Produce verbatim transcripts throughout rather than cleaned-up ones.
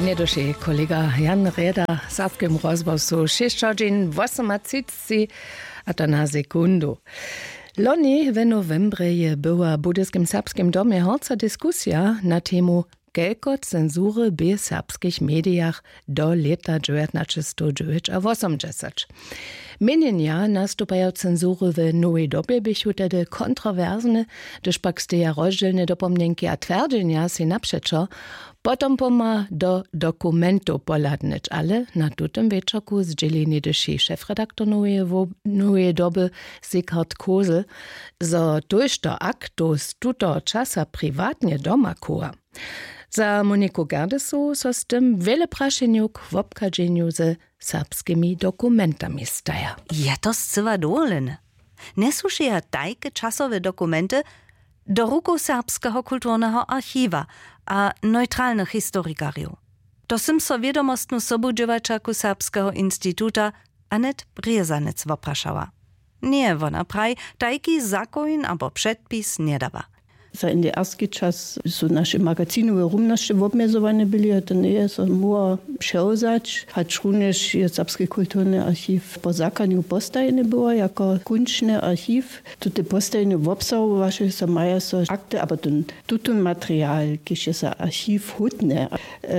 Njeduši kolega Jan Rjeda w Serbskem rozhłosu šěsć hodźin wosomatřiceći, a to na sekundu. Loni w nowembrje je była w budyskim serbskim domje horca diskusija na temu, kelko cenzury bě w serbskich medijach do lěta dźewjatnaćestowdźewjećawosomdźesać. Měnjenja nastupajo cenzury w nowej dobje běchu tehdy kontrowersne, hdyž pak steja rozdźělne dopomnjenki a twjerdźenja sej napřećo, potom pomha do dokumentow pohladnyć, ale na tutym wječorku zdźěli něhdyši šefredaktor noweje wo- noweje doby Sigurd Kosel, zo tójšto aktow z tutoho časa priwatnje doma chowa. Za Moniku Gerdesow so z tym wjele prašenjow k wobchadźenju ze serbskimi dokumentami staja. Je to scyła dowolene? Njesłušeja tajke časowe dokumenty do rukow Serbskeho kulturneho archiwa a neutralnych historikarjow? To sym so wědomostnu sobudźěłaćerku Serbskeho instituta Anet Brězanec woprašała. Ně, wona praji, tajki zakoń abo předpis njedawa. Za N D R-ski čas su naše magazinowe rumnosće wobmjezowane byli a to njeje so móhło přewzać, hačrunjež je Serbski kulturny archiw po zakonju postajeny była jako kónčny archiw. Tute postajeny wobsahowaše so, maja so akty abo ten tutón material, kiž je za archiw hódny,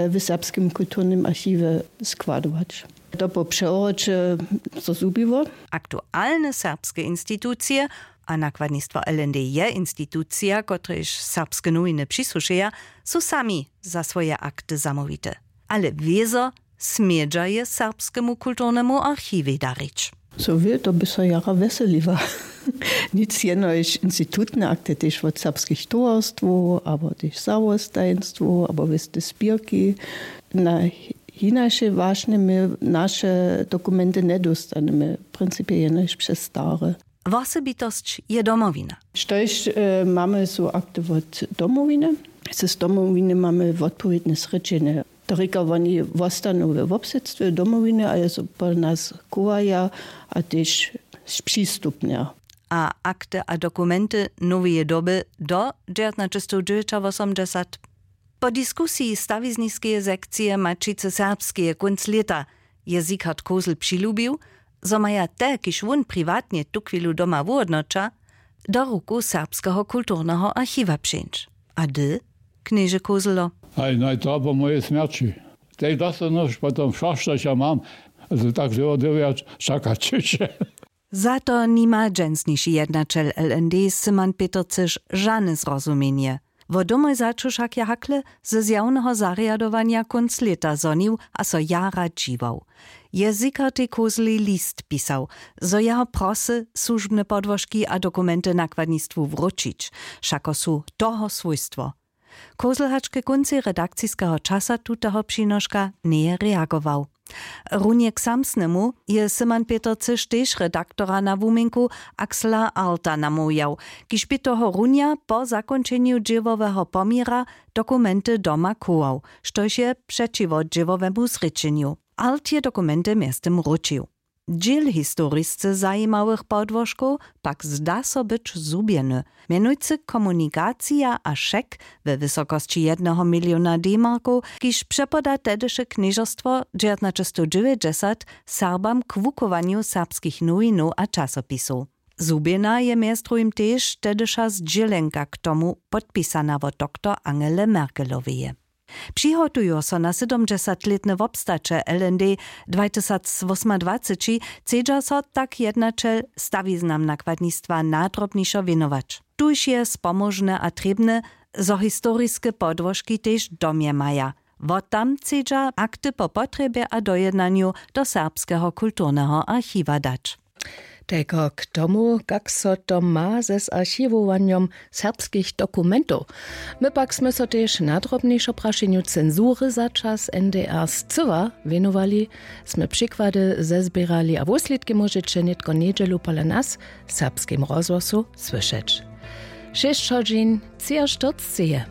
w Serbskim kulturnym archiwje składować. To po přewroće so zhubiło. Aktualne serbske institucije, a nakładnistwo L N D je institucija, kotrejž Serbske nowiny přisłušeja, su sami za swoje akty zamołwite. Ale wězo smědźa je Serbskemu kulturnemu archiwej darić. So wě, to by so jara wjeseliła. Nic jenož institutne akty, tež wot serbskich towarstwow abo tež zawostajenstwow abo wěste spěrki. Na hinaše wašnje my naše dokumenty njedóstanemy, w principje jenož přez stare. Wosebitosć je Domowina. Štož mamy su akty wot Domowiny. Z Domowiny mamy wotpowědne srěčenje. To rěka, woni wostanu we wobsydstwje Domowiny a je so po nas chowaja a tež spřistupnja. A akty a dokumenty noweje doby do dźewjatnaćestowdźewjećawosomdźesat? Po diskusiji stawizniskeje sekcije Maćicy serbskeje kónc lěta je Sigurd Kosel přilubił, zo maja te, kiž wón priwatnje tuchwilu doma wuhódnoća, do rukow Serbskeho kulturneho archiwa přińć. A hdy, knježe Koselo? Haj, naj to po mojej smjerći. Tej dostanoš potom wšo, štož ja mam. A to tak dyrjo dyrjo čakać hišće. Za to nima dźensniši jednaćel L N D Syman Petercyš žane zrozumjenje. Wo domoj začu wšak je hakle ze zjawneho zarjadowanja kónc lěta zhonił a so jara dźiwał. Je Sigurtej Koseli list pisał, zo jeho prosy słužbne podłožki a dokumenty nakładnistwu wróćić, wšako su toho swójstwo. Kosel hač ke kóncej redakciskeho časa tuteho přinoška njeje reagował. Runje k samsnemu je Syman Petercyš tež redaktora na wuměnku Axla Arlta namołwjał, kiž bě tohorunja po zakónčenju dźěłoweho poměra dokumenty doma chował, štož je přećiwo dźěłowemu zrěčenju. Arlt je dokumenty mjeztym wróćił. Dźěl historisce zajimałych podłožkow pak zda so być zhubjeny, mjenujcy komunikacija a šek we wysokosći jedneho miliona D-markow, kiž přepoda tehdyše knježerstwo dźewjatnaćestowdźewjećdźesat Serbam k wuchowanju serbskich nowinow a časopisow. Zhubjena je mjez druhim tež tehdyša zdźělenka k tomu, podpisana wot doktor Angele Merkeloweje. Přihotujo so na sydomdźesatlětne wobstaće L N D dwatysacwósmadwaceći, chcedźa so tak jednaćel stawiznam nakładnistwa nadrobnišo wěnować. Tuž je spomóžne a trěbne, zo historiske podłožki tež w domje maja. Wot tam chcedźa akty po potrjebje a dojednanju do Serbskeho kulturneho archiwa dać. Tajko k tomu, kak so to ma ze z archiwowanjom serbskich dokumentow. My pak smy so tež nadrobnišo prašenju cenzury za čas N D R scyła wěnowali, smy přikłady zezběrali a wuslědki móžeće nětko njedźelu pola nas w Serbskim rozhłosu słyšeć. Šěsć hodźin třiaštyrceće je.